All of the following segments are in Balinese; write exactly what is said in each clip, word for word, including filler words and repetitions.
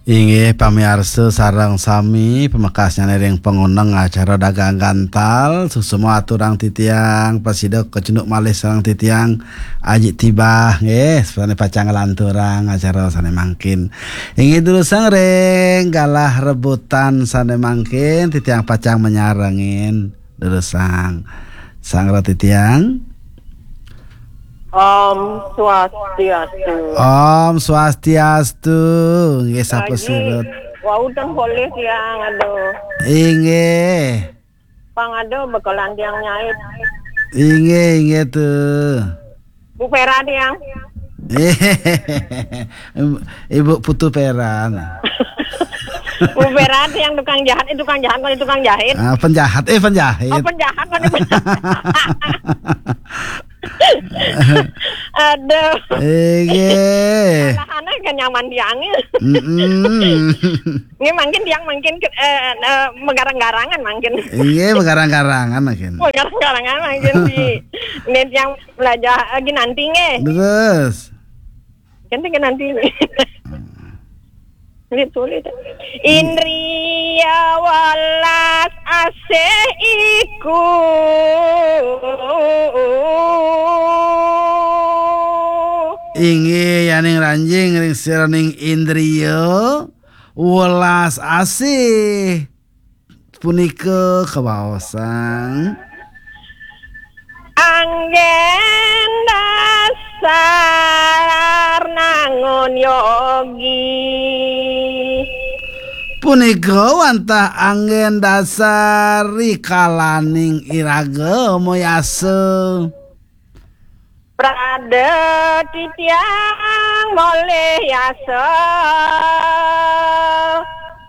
Inggih pamiarsa sareng sami, pamekasnyané ring pangoneng acara Dagang Gantal, suksma aturang titiang prasida kacunduk malih sareng titiang Aji Tibah, nggih, sané pacang nglanturang acara sané mangkin. Inggih durusang ring galah rebutan sané mangkin, titiang pacang manyarengin. Durusang. Sang roti tiang. Om Swastiastu. Om Swastiastu. Nggih, sapa Aji, sirut? Wau ten polih tiang, aduh. Inggih. Pang ada bekelan tiang nyait. Inggih, inggih tuh. Bu Vera tiang. Ibu Putu Peran. Bu Vera tiang tukang jahat, eh, tukang jahat, bukan tukang jahit. Ah, penjahat, eh, penjahit. Oh, penjahat, bukan penjahat. Aduh. Inggih. Salahane kan nyaman tiang. Mm-mm. Ini mungkin tiang mungkin ke, eh, eh, megarang-garangan mungkin. Inggih, megarang-garangan mungkin. Megarang-garangan mungkin di ini tiang belajar lagi nanti nggih. Terus. Kan dengan nanti. Sulit, sulit. Indria welas asih iku. Inggih yaning ranjing ring siraning indria welas asih. Punika kabaosang. Anggén dasar nangun yogi. Punika wantah anggén dasar rikalaning iraga mayasa. Prade titiang molih yasa.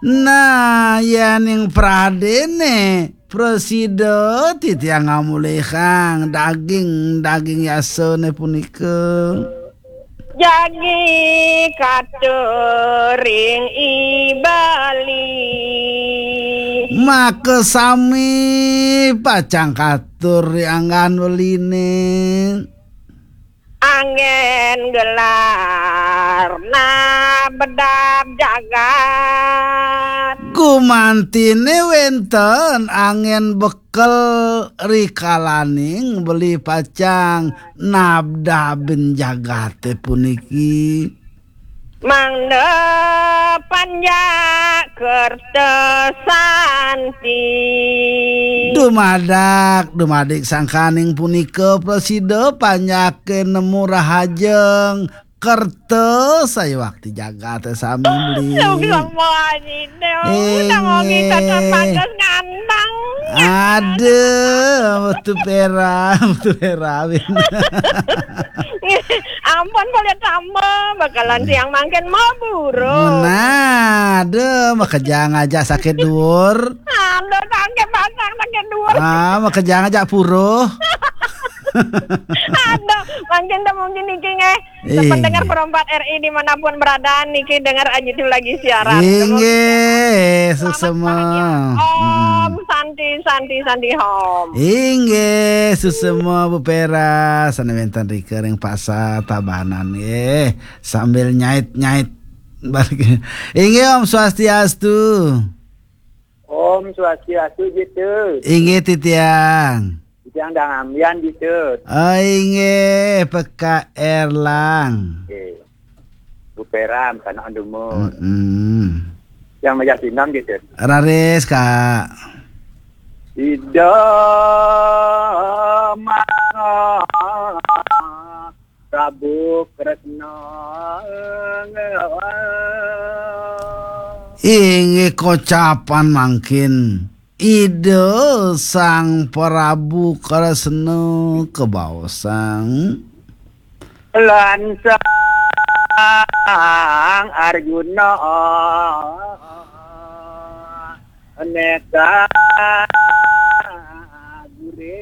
Nah, yaning pradene prasida titiang ngamolihang daging-daging yasane punika. Jagi katur ring I Bali. Maka sami pacang katur ring anggan beline. Anggén gelar nabdab jagat. Gumantine wenten anggén bekel rikalaning beli pacang nabdabin jagate puniki. Mangda panjak kerta santi. Dumadak, dumadik sangkaning punika prasida panjake nemu rahajeng kerta sayuwakti jagate sami beli. Suksma Aji Inggih. Aduh, metu pera, metu pera, Win. Ampun, boleh tambah, bakalan siang mangkin mau burung. Nah, aduh, makejang aja sakit duur. Aduh, sakit pasang, sakit duur. Ah, makejang aja puruh. Aduh, mangkin teh mungkin niki nggih. Pendengar Perempat R I dimanapun berada, niki dengar Aji itu lagi siaran. Inggih, selamat susema. Pagi. Om Santi, Santi, Santi, Om. Inggih, susema Bu Pera, sane wenten rika ring Pasar Tabanan nggih. Sambil nyait-nyait balik. Inggih, Om Swastiastu. Om Swastiastu, gitu. Inggih, titiang. Titiang dang ambian, gitu. Oh, inggih, P K Erlang. Oke. Bu Peram, kana anduma. Mm-mm. Yang majak sinam, gitu. Raris, Kak. Ida mangga Prabu Kresna. Inggih kocapan mangkin. Ida Sang Prabu Kresna kabaosang. Lan Sang Arjuna neka gure.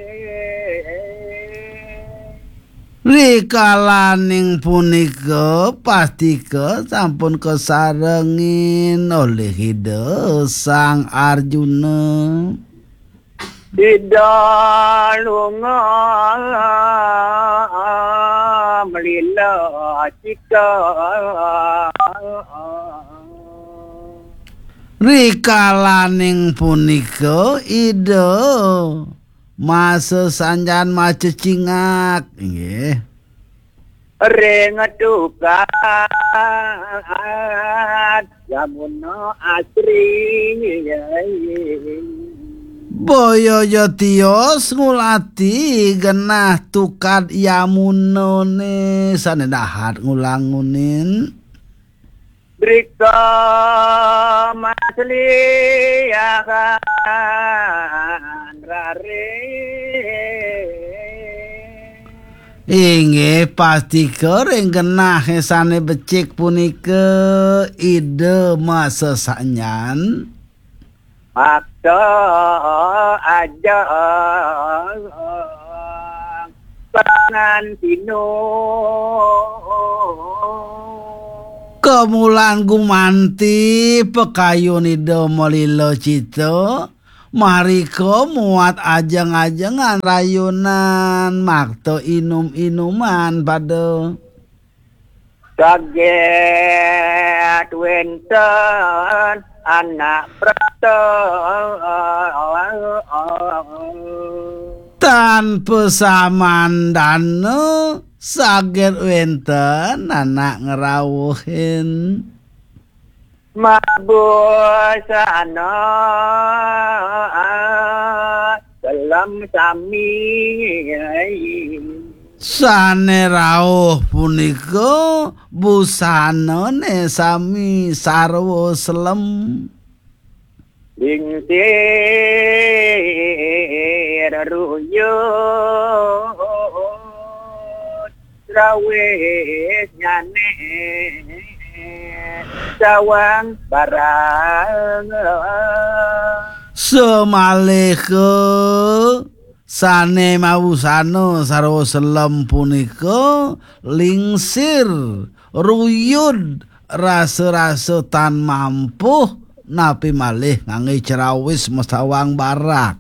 Rikalaning punika pastika sampun kasarengin olih Ida Sang Arjuna. Ida lunga melila cika. Rikalaning punika Ida masesanjan macecingak, inggih. Ring tukad Yamuna asri. Boya ja tios ngulati genah tukad Yamunane sane dahat ngulangunin. Drika masliahan rare. Inggih pastika ring genah sane becik punika Ida masesanjan. Makta aja pangantino. Kemulan gumanti pakayun Ida malila cita, marika muat ajeng-ajengan rayunan makta inum-inuman pada. Saget wenten anak prata. Tan pasamandana saget wenten anak ngrawuhin. Mabusana selem sami. Sane rauh punika busanane sami sarwa selem. Lingsir ruyut rawis nyane sawang barang. Samaliha sane mawusana sarwa selem punika lingsir, ruyud, rasa-rasa tan mampuh, napi malih ngangge cerawis masawang barak.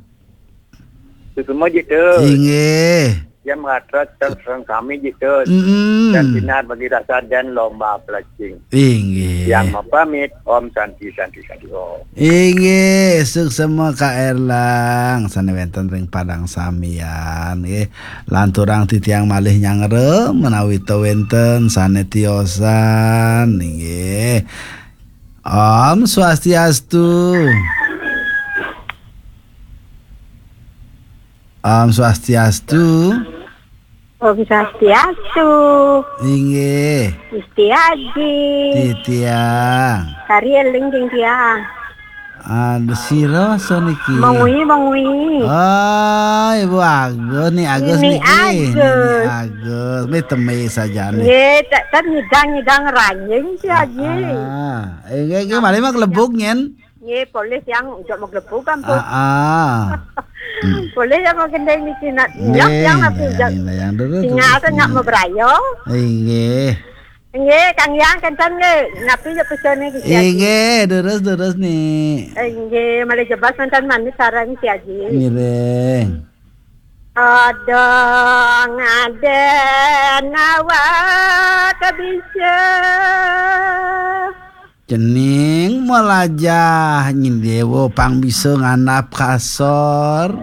Suksma, Jitu. Inggih. Yang mengatra tentang kami, Jitu. Mm-mm. Dan sinar bagi rasa dan lomba pelacing. Inggih. Yang mapamit, Om Santi, Santi, Santi, Om. Inggih, suksma Ka Erlang sane wenten ring padang samian, nggih. Lanturang titiang malih nyangra menawi ta wenten sane tiosan, nggih. Om Swastiastu. Om Swastiastu. Om Swastiastu. Inggih. Gusti Aji. Titiang. Kari eling ring tiang. Ada sira so niki. Mengwi, mengwi. Oh, Ibu Agus, ni Agus Nini niki. Agus. Nini Agus. Ni teme saja ni. Nggih, tak kan ngidang-ngidang ranying si Aji. Ah, eh, nggih, nggih, malih mah kelebuk nyen. Nggih, polih yang ujak maglebuk ampun. Ah, ah. Hmm. Polih yang magendeng niki nak nyok yang napi ujak. Nggih, yang dulu. Tinggal tu nak mabraya. Inggih. Nggih, Kang Yang kenten nggih. Napi ya pesone niki? Inggih, terus-terus nih. Inggih, malih jebas mantan manis sareng si Aji. Ngiring. Ada ngaden awak bisa. Cening melajah nyen dewa pang bisa ngandap kasor.